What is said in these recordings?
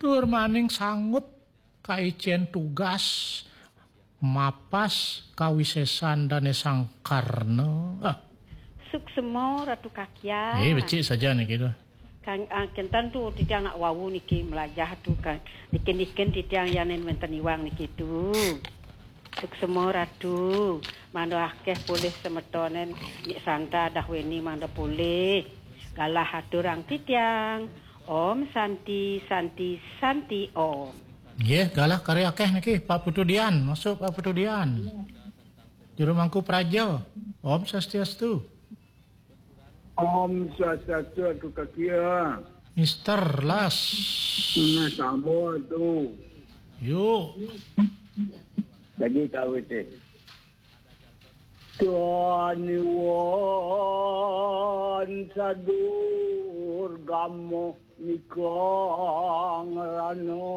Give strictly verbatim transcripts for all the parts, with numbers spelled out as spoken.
Tur maning sanggup kaicén tugas mapas kawisésan dané Sang Karna. Ah. Suksema Ratu Kakian. Eh, becik saja niki tu. Kang, ah, kénten tu titiang nak wau niki melajah tu, Kang. Nikin-nikin titiang yanin wénten iwang niki tu. Suksema Ratu, mangda akéh polih semetonen, Nik Santa dah wéni mangda polih. Galah aturang titiang. Om Santi, Santi, Santi Om. Nggih, galah kari akéh niki, Pak Putu Dian. Masuk Pak Putu Dian. Juru Mangku Praja. Om Swastiastu. Om Swastiastu, Atu Kakia. Mister Las. Nah, sama tu. Yuk. Lagi tahu itu. Tuhan Iwan Sadur Gamo Nikang Rano.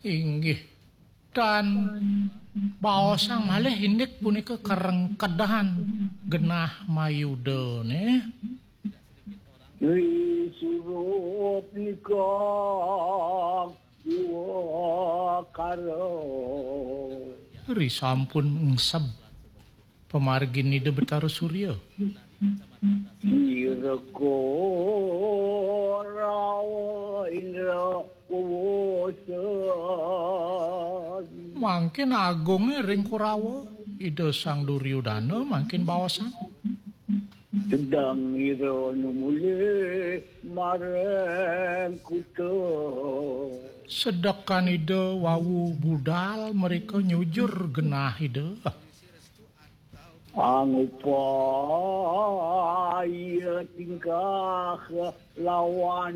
Inggih. Dan baosang malih indik punika karengkedan genah mayuda, nggih. Ri surup nika diwakara. Ri sampun engseb pamargin Ida Betara Surya. Ira Korawa Indra Kuwusa. Mangkin agungé ring Korawa, Ida Sang Duryudana mangkin baosang. Sedang ira numulih marang kuta. Sedekan Ida wau budal mereka nyujur genah Ida. Angupaya tingkah lawan